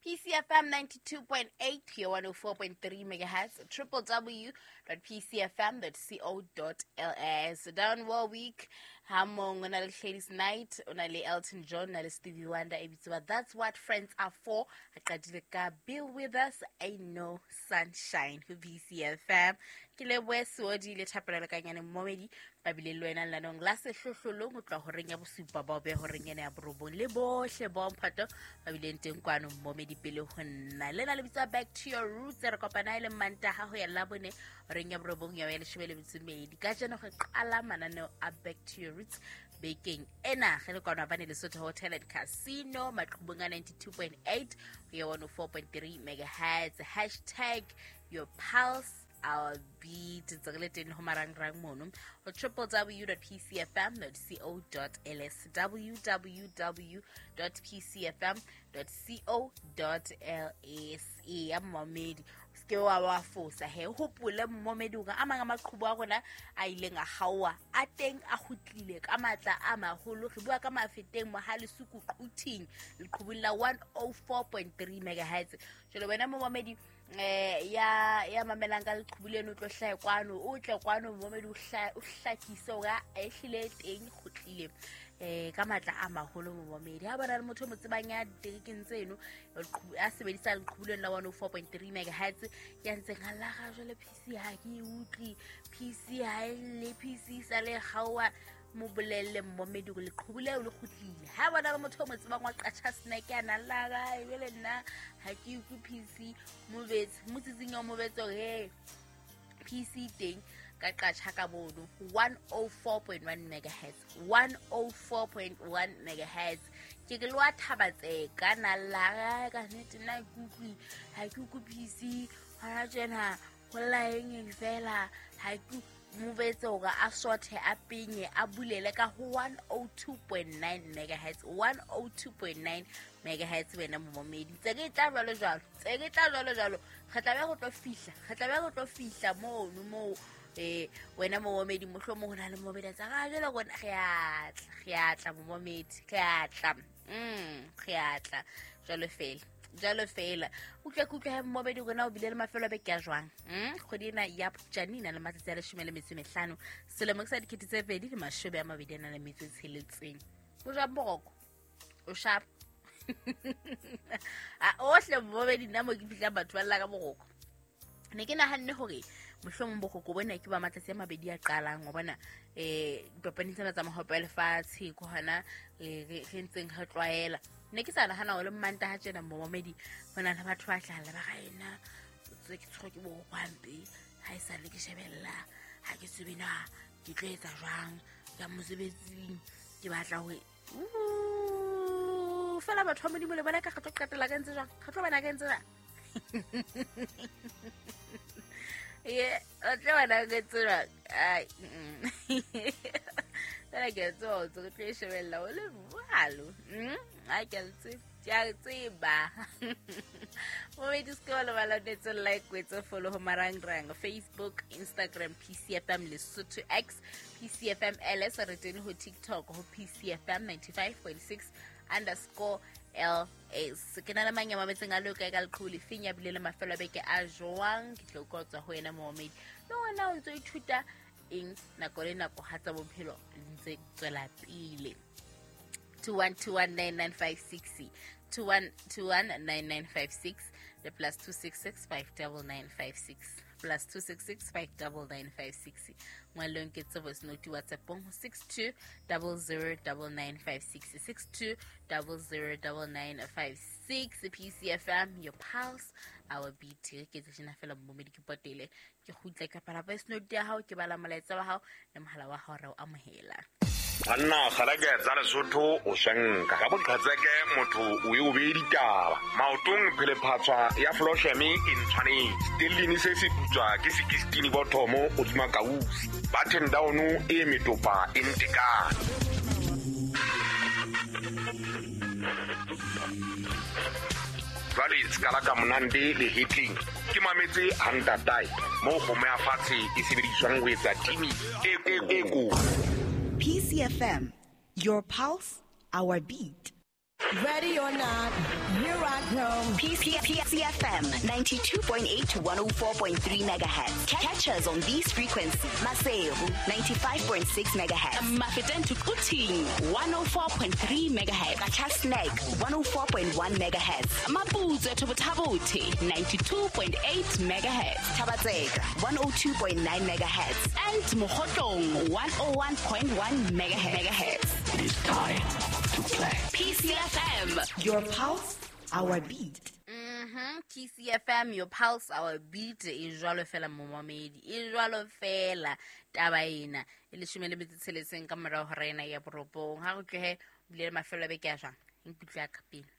PCFM 92.8 here 104.3 megahertz, www.pcfm.co.ls. Down Warwick, Hamong, o na le Ladies Night, o na le Elton John, o na le Stevie Wonder, e bitswa That's What Friends Are For. Re qadile ka Bill Withers, Ain't No Sunshine ho BCFM. Ke lebohe Seodi le Thapelo Lekanyane Mmomedi ba bile le wena lenaneong la sehlohlolong ho tloha horeng ya bosupa bao be horeng ena ya borobong le bohle bo mphato ba bileng teng kwano Mmomedi pele ho nna. Lena le bitswa Back to Your Roots, re kopana e le Mantaha ho ya Labone horeng ya borobong ya ya leshome le metso e mmedi. Kajeno re qala mananeo a Back to Your Roots bekeng ena ge le kwano bane Lesotho Hotel and Casino maqhubong a 92.8 ho ya 104.3 megahertz. Hashtag your pulse our beat, ntse re le teng ho marangrang mono ho www.pcfm.co.ls, www.pcfm.co.ls. Ya mmamedi, o seke wa fosa he, hopole mmamedi hore a mang a maqhubu a rona a ileng a kgaoha a teng a kgutlile ka matla a maholo. Re bua ka Mafeteng Mohalesuku Quthing leqhubung la 104.3 megahertz. Jwale wena momamedi ya mamelang ka leqhubu leno, o tlo hlahe kwano, o tle kwano momamedi, o hlakise hore a ehlile teng kgutlile ka matla a maholo. Momamedi, ha bona le motho o mo tsebang ya diterekeng tseno a sebedisa leqhubu leno la 104.3 megahertz ya ntseng a llaga jwale, PC ha ke e utlwe, PC ha e lle, PC sa le kgaoha, mo bolelle mmomedi hore leqhubu leo le kgutlile. Ha bona le motho o mo tsebang wa qatjha snack ya nang la ebele nna ha ke utlwe PC, mobetse mo tsitsing ya mobetse hore he PC teng ka qatjha ka bono 104.1 megahertz, 104.1 megahertz. Ke ke le wa Thabatseka na la ka nnete nna ke utlwe, ha ke utlwe PC hona tjena, ho lla eng fela, ha ke mobetse hore a sothe a penye a bulele ka ho 102.9 megahertz, 102.9 megahertz. Wena momamedi, tse ke tla jwalo jwalo, tse ke tla jwalo jwalo, re tla be re tlo fihla, re tla be re tlo fihla mono moo. Wena momamedi, mohlomong ho na le momamedi a tsa ga jwale rona re a tla, re a tla momamedi, re a tla, re a tla jwalo fela, jwalo fela. Utlwa ke utlwa he momamedi rona o bile le mafelo a beke a jwang. Kgwedi ena ya Phupjane e na le matsatsi a 15, selemo ke sa 2026. O jwang boroko? O sharp? A ohle momamedi, nna mo ke fihlang batho ba lla ka boroko. Ne ke nahanne hore mohlomong boroko bona ke ba matsatsi a mabedi a qalang, wa bona dipapading tsena tsa mohope wa lefatshe ke hona re ntseng re tlwaela. Ne ke sa nahana hore le Mantaha tjena momamedi ho na le batho ba tla lla ba ra ena tse ke tshwerwe ke boroko hampe, ha e sale ke shebella, ha ke tsebe na ke tlo etsa jwang ka mosebetsing, ke batla hore fela batho ba Modimo le bona ka re tlo qetella ka ntse jwang, re tlo bona ka ntse jwang. Ye, o tlo bona ka ntse jwang. Ai, fela ke a tseba hore re tlo e shebella o le jwalo. Ai, ke a le tseba, ke a tseba. Momedi, se ke wa lebala o etse like, o etse follow ho marangrang Facebook, Instagram, PCFM Lesotho, X, PCFM LS. Re teng ho TikTok ho PCFM 95.6 underscore LS. Ke na le mang ya mametseng a le kae ka leqhubu lefeng, ya bile le mafelo a beke a jwang? Ke tlo utlwa ho tswa ho yena momamedi. Le wena o ntso ithuta eng nako le nako ha tsa bophelo di ntse tswela pele? 21219956, 21219956 le +266 59956, +266 59956. Ngwalong ke tse voice note WhatsAppong ho 62009956, 62009956. PCFM, your pulse, our beat. Ke tse tjena fela momedi, ke potele ke kgutle ka pala voice note ya hao, ke bala molaetsa wa hao le mohala wa hao re o amohela. Banna kgalake tsa Lesotho o shanka ka boqhetseke, motho o e o bee ditaba maotong, phelephatswa ya flosheme e ntshwanetse stellini se se putswa ke 16 bothomo hodima kausi button down e metopa e ntekane. Jwale sekala ka monande le hetleng ke mametse hantatae moo kgomo ya fatshe e sebediswang ho etsa timi e ko. PCFM, your pulse, our beat. Ready or not, here I come. PCFM 92.8 to 104.3 megahertz. Catch us on these frequencies. Maseru 95.6 megahertz. Mafeteng to Quthing 104.3 megahertz. Qacha's Nek 104.1 megahertz. Maputswe to Botha-Bothe 92.8 megahertz. Thaba-Tseka 102.9 megahertz. And Mokhotlong 101.1 megahertz. It is time to play. PCFM. Your pulse, our beat. TCFM, your pulse, our beat. E jwalo fela momamedi, e jwalo fela taba ena e leshome le metso tsheletseng ka morao ho rena ya borobong. Ha re tlohe bile le mafelo a beke a jwang, nkutlwe a ka pele,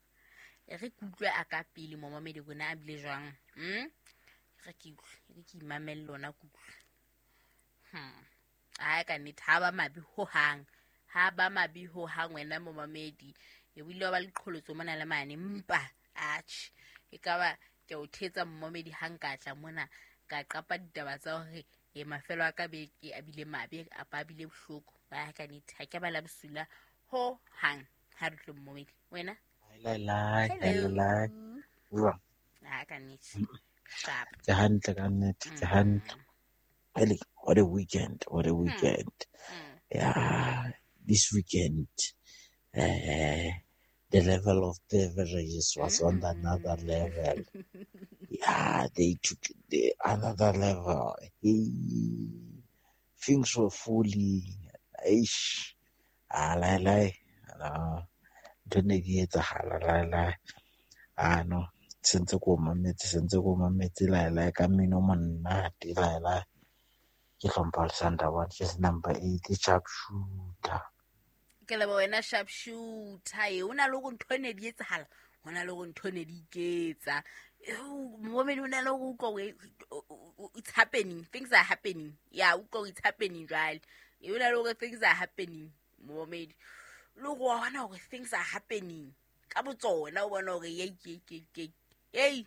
e re kutlwe a ka pele momamedi rona a bile jwang. Re ke utlwe, re ke imamelle lona kutlwe. Ai ka nnete ha ba mabe hohang, ha ba mabe hohang wena momamedi. E bile wa ba le qholotso mona le mane, mpa atjhe e ka ba ke o thetsa momamedi ha nka tla mona ka qapa ditaba tsa hore e mafelo a ka beke a bile mabe a pa bile bohloko. Ba ka nnete ha ke ba la bosula ho hang. Ha re tlo momamedi wena. Lai lai lai lai. Jwang? Ha ka nnete. Sharp. Ke hantle ka nnete, ke hantle. Really, what a weekend, what a weekend. Yeah, this weekend, the level of beverages was on another level. Yeah, they took the another level. Hey, things were fully. Eish, ah, lai lai, no, ntho ne ke etsahala lai lai. Ah no, sentse ko mametse lai lai ka mmino o monate lai lai. Ke hlompha Alexander one, ke number 8 sharpshooter. Ke leboha wena sharpshooter. E o na le hore ntho ne di etsahala, ho na le hore ntho ne di iketsa. Momamedi o na le hore utlwa hore it's happening, things are happening. Yeah, utlwa it's happening jwale. E o na le hore things are happening momamedi. Le hore wa bona hore things are happening ka botsona, o bona hore ye ye ye ye.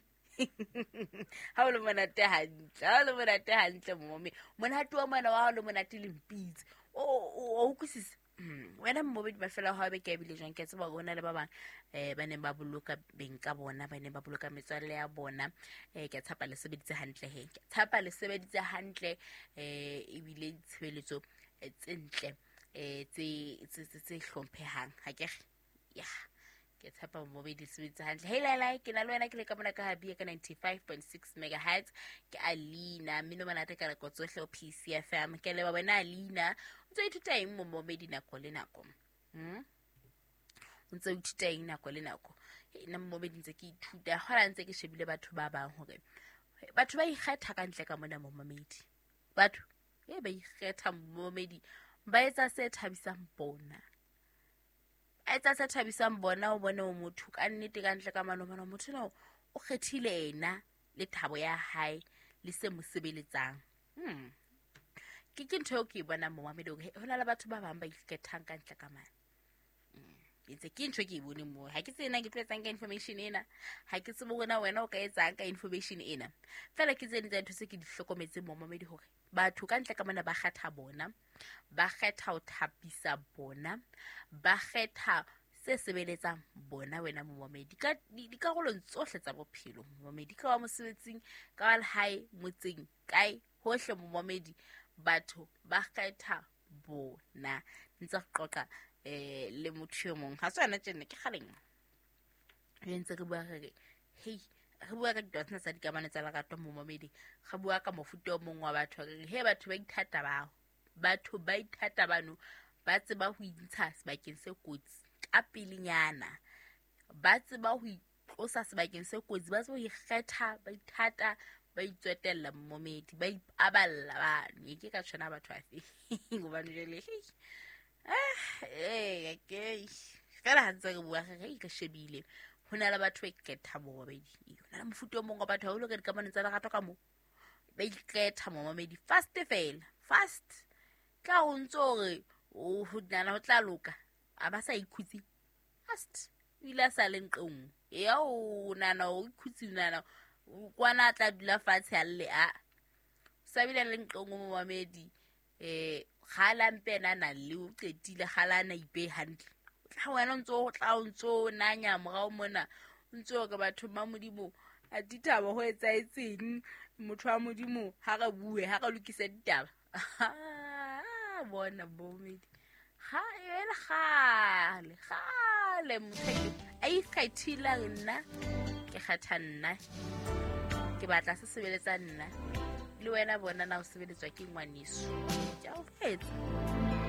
Ha o le monate hantle, ha o le monate hantle momamedi. Monate wa mona wa hao le monate le mpitse. O utlwisisa. Wena momamedi mafelo a hao beke a bile jwang? Ke a tseba hore ho na le ba bang ba neng ba boloka beng ka bona, ba neng ba boloka metswalle ya bona. Ke a tshepa le sebeditse hantle he. Ke a tshepa le sebeditse hantle, ebile ditshebeletso tse ntle, tse hlomphehang. Ha ke re? Yeah. Ke tshepa momamedi sebeditse hantle. Hey lai lai, ke na le wena ke le ka mona ka Habia ka 95.6 megahertz. Ke Alina, mmino monate ka nako tsohle ho PCFM. Ke leboha wena Alina. O ntse o ithuta eng momamedi nako le nako? O ntse o ithuta eng nako le nako? Nna momamedi ntse ke ithuta, hona ntse ke shebile batho ba bang hore batho ba ikgetha ka ntle ka mona momamedi. Batho ba ikgetha momamedi, ba etsa se thabisang bona. Etsa se thabisang bona, o bone o motho ka nnete ka ntle ka mano, bona motho ena o kgethile ena le thabo ya hae le se mo sebeletsang. Ke ntho eo ke e bonang momamedi hore ho na le batho ba bang ba ikgethang ka ntle ka mane. Ntse ke ntho ke e boneng moo. Ha ke tsena ke tlo etsang ka information ena, ha ke tsebe hore na wena o ka etsang ka information ena. Fela ke tse ding tsa ntho tse ke di hlokometseng momamedi hore batho ka ntle ka mona ba kgetha bona, ba kgetha ho thapisa bona, ba kgetha se sebeletsang bona wena momamedi ka dikarolong tsohle tsa bophelo momamedi, ka wa mosebetsing, ka wa lehae, motseng, kae hohle momamedi, batho ba kgetha bona. Ntse re qoqa le motho e mong, ha se yona tjena ke kgaleng re ntse re bua re re hei, re bua ka ditaba tsena tsa dikamano tsa lerato momamedi, re bua ka mofuta o mong wa batho, re re he batho ba ithata bao, batho ba ithata bano ba tseba ho intsha sebakeng se kotsi ka pelenyana, ba tseba ho itlosa sebakeng se kotsi, ba tseba ho ikgetha, ba ithata, ba itswetella momamedi, ba ipaballa bano. E ke ka tshwana batho afe hobane jwale okay fela ha ntse re bua re re shebile ho na le batho ba ikgetha momamedi, ho na le mofuta o mong wa batho haholo ka dikamano tsa lerato ka moo ba ikgetha momamedi fast fela fast, ka o ntso hore o ho nana ho tla loka, a ba sa ikhutse fast, o ile a sa le nqong ya o nana o ikhutse nana kwana a tla dula fatshe a lle a sa bile le nqong momamedi. Kgala mpe ena a nang le o qetile, kgala a na ipehe hantle, o Tla wena o ntso o tla o ntso o nanya morao mona, o ntso o re bathong ba Modimo a ditaba ho etsahetseng, motho wa Modimo ha re bue, ha re lokise ditaba. Bona bomedi ga e le kgale kgale motho a ikgethile, nna ke kgetha nna, ke batla se sebeletsa nna le wena. Bona na o sebeletswa ke ngwaneso, ke a o fetsa.